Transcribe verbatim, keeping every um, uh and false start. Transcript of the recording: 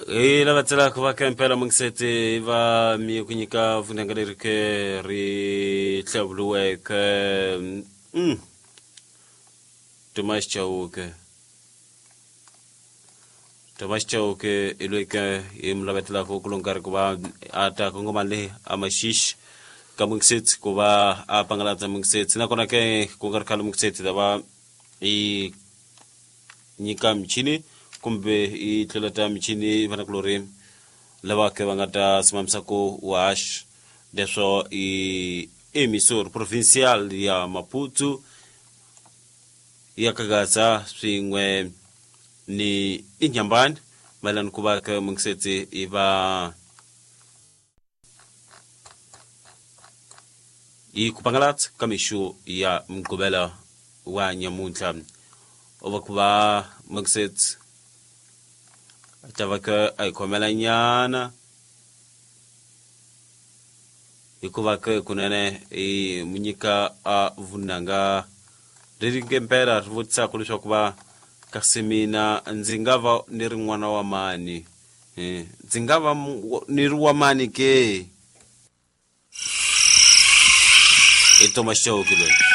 Hi lava tselaka va ka impela mungiseti va mi ku nyika vunanga leri ke ri hlawuriweke mm Thomas Chauke Thomas Chauke i loyi ke hi mi lavetelaka ku lo nkarhi ku va a ta kongoma le a Maxixe ka mungiseti ku va a pangalatsa mungiseti nakona ke ku nga ri khale mungiseti ta va i nyika michini kumbe i tluleta michini vanakulorhi lava ke va nga ta simamisa ku wash leswo i emisor provincial ya Maputo ya Kagaza swin'we ni Inhambane mayelana ku va ke mungiseti i va i ku pangalatsa ka mixo ya Mugqivela wa nyamuntlha u va ku va mungiseti ta va ke a hi khomela nyana hikuva ke kunene i mu nyika a vunanga leri nge mpela ri vutisaka leswaku va kasi mina ndzi nga va ni ri n'wana wa mani, ndzi nga va ni ri wa mani ke? I Thomas Chauke loyi.